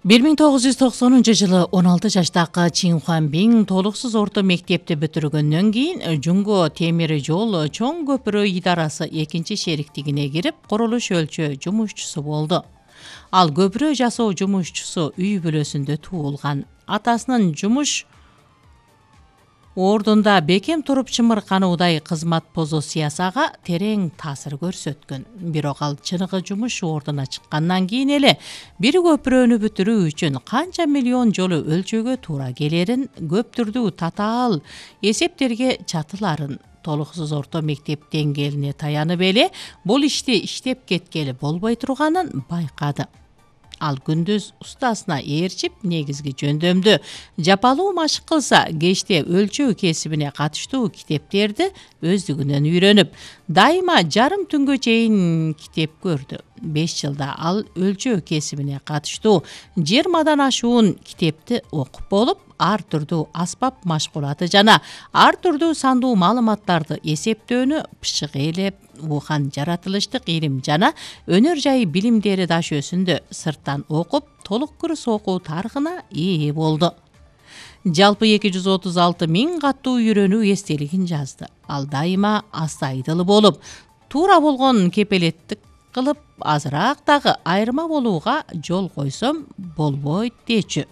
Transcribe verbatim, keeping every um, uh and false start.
бир миң тогуз жүз токсонунчу жылы он алты жаштагы Чин Хуанбин толуксуз орто мектепти бүтүргөндөн кийин Жунго темир жол чоң көпүрө идарасы экинчи шериктигине кирип, курулуш өлчөө жумушчусу болду. Ал көпүрө жасоо жумушчусу үй бүлөсүндө туулган. Атасынын жумуш ордунда бекем туруп чымыркануудай кызмат позициясага терең таасир көрсөткөн. Бирок ал чыныгы жумуш ордуна чыккандан кийин эле бир көпүрөнү бүтүрүү үчүн канча миллион жолу өлчөөгө туура келерин, көп түрдүү татаал эсептерге чатыларын, толуксуз орто мектеп деңгээлине таянып эле бул ишти иштеп кеткели болбой турганын байкады. Ал күндүз устасына ээрчип, негизги жөндөмдү жапалуу машык кылса, кечте өлчөө кесибине катыштуу китептерди өздүгүнөн үйрөнүп, дайыма жарым түнгө чейин китеп көрдү. беш жылда ал өлчөө кесибине катыштуу жыйырмадан ашуун китепти окуп болуп, ар түрдүү аспап машкулаты жана ар түрдүү сандуу маалыматтарды эсептөөнү бышык ээлеп, Ухан жаратылыштык илим жана өнөр жайы билимдери дашөөсүндө сырттан окуп, толук курс окуу тарыхына ээ болду. Жалпы эки жүз отуз алты миң каттуу үйрөнүү эстелигин жазды. Ал дайыма астайдыл болуп, туура болгон кепелеттик кылып, азыраак дагы айырма болууга жол койсом болбойт дечү.